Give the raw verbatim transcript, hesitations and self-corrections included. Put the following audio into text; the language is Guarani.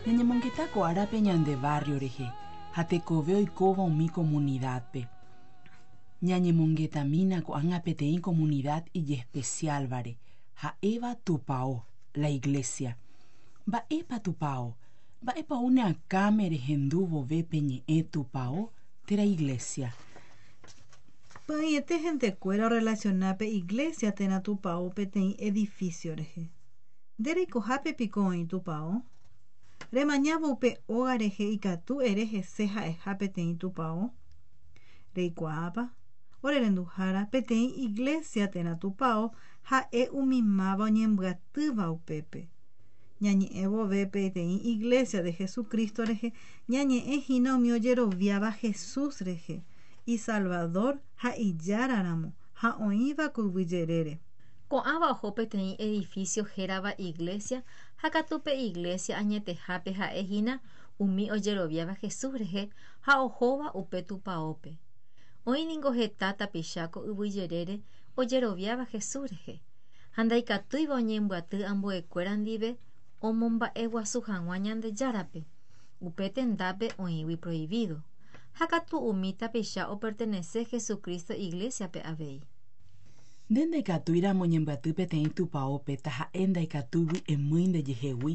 Ñañemongeta ko árape ñande barrio rehe ha tekove oikóva umi comunidad-pe. Ñañemongetamína ko'ág̃a peteĩ comunidad ijespecial-vare ha'éva tupão, la iglesia. Mba'épa tupão? Mba'épa ou ne akãme rehendu vove pe ñe'ẽ tupão térã iglesia. Py'ỹiete hentekuéra orelaciona pe iglesia térã tupão peteĩ edificio rehe. Nde reikohápe piko oĩ tupão? Remañávo upe óga rehe ikatu ere hese ha'eha peteĩ tupão? Reikuaápa? Ore renduhára peteĩ iglesia térã tupão ha'e umi máva oñembyatýva upépe. Ñañe'ẽ vove peteĩ iglesia de Jesucristo rehe ñañe'ẽhína umi ojeroviáva Jesús rehe, isalvador ha ijáraramo ha oĩva ko yvy jerére. Ko'ãva oho peteĩ edificio hérava iglesia ha katu pe iglesia añetehápe ha'ehína umi ojeroviáva Jesús rehe ha ohóva upe tupãópe. Oĩ ningo heta tapicha ko yvy jerére ojeroviáva Jesús rehe ha ndaikatúiva oñembyaty ambuekuéra ndive omomba'eguasu hag̃ua Ñandejárape upe tendápe oĩgui prohibido ha katu umi tapicha opertenece Jesucristo iglesia-pe avei. Nde ndaikatúiramo oñembyaty peteĩ tupãópe taha'e ndaikatúigui emýi ndejehegui.